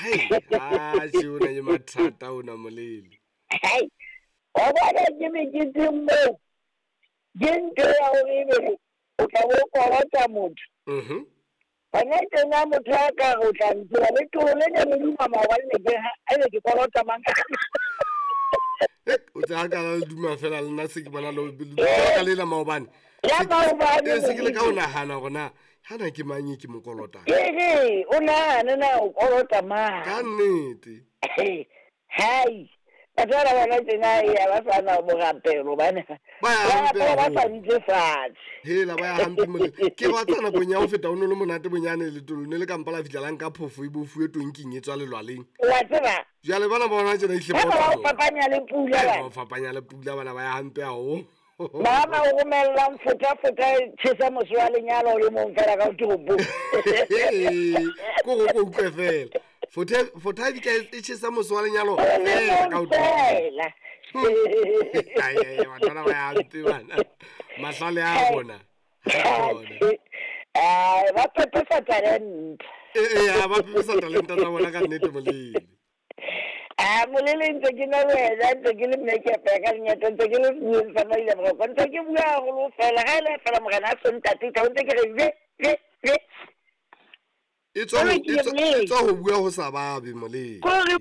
Hai, atjhe, o na le mathata ona molele. Hai, wa bona ke meketeng moo ke ntho ya hore ebe o tla bo kolota motho. Hona tjena motho a ka re o tla ntseba le tolo le ne le duma maobane ne ke ha ebe ke kolota mang. O tse ha ka la le duma fela le nna se ke bona le ka lela maobane. Ya maobane. Se ke le ka o nahana hore na hana ke mang e ke mo kolotang. Ke re o nahane na o kolota mang. Ka nnete. Hai. Batho ba bona tjena ya ba sa na borapelo bana. Ba ya hampe Ba haholo. sa ntse fatshe. Hela ba ya hampe molele. Ke ba tsana nakong ya ho feta o no le monate bonyane letolo ne le ka mpa la fihla la nka phofo e bofuwe tonking e tswa lelwaleng. Wa tseba. Jwale bana ba bona tjena ehlile Ha ba ba o fapanya le pula ba ba. o fapanya le pula bana ba ya hampe haholo. Mama o romellang fota-fota e tjhesa mose wa lenyalo o le mong fela ka toropong. Ko go ko utlwe fela. Fota e fihla e tjhesa mose wa lenyalo O le fela ka mong o fela. Ai ai batho bana ba ya hampe bana. Mahlale a bona. Ha bona. Ai, ba pepesa talente. Ee, ba pepesa talente tsa bona ka nnete molele. Ah, molele ntse ke na le wena, ntse ke le mmekepe ka lenyatso, ntse ke le senyeng sa maile boroko, ntse ke bua haholo fela. Ha e le fela morena a so ntate, tla ntse ke re ve ve ve. E tswa ho bua ho sa babe molele. Kore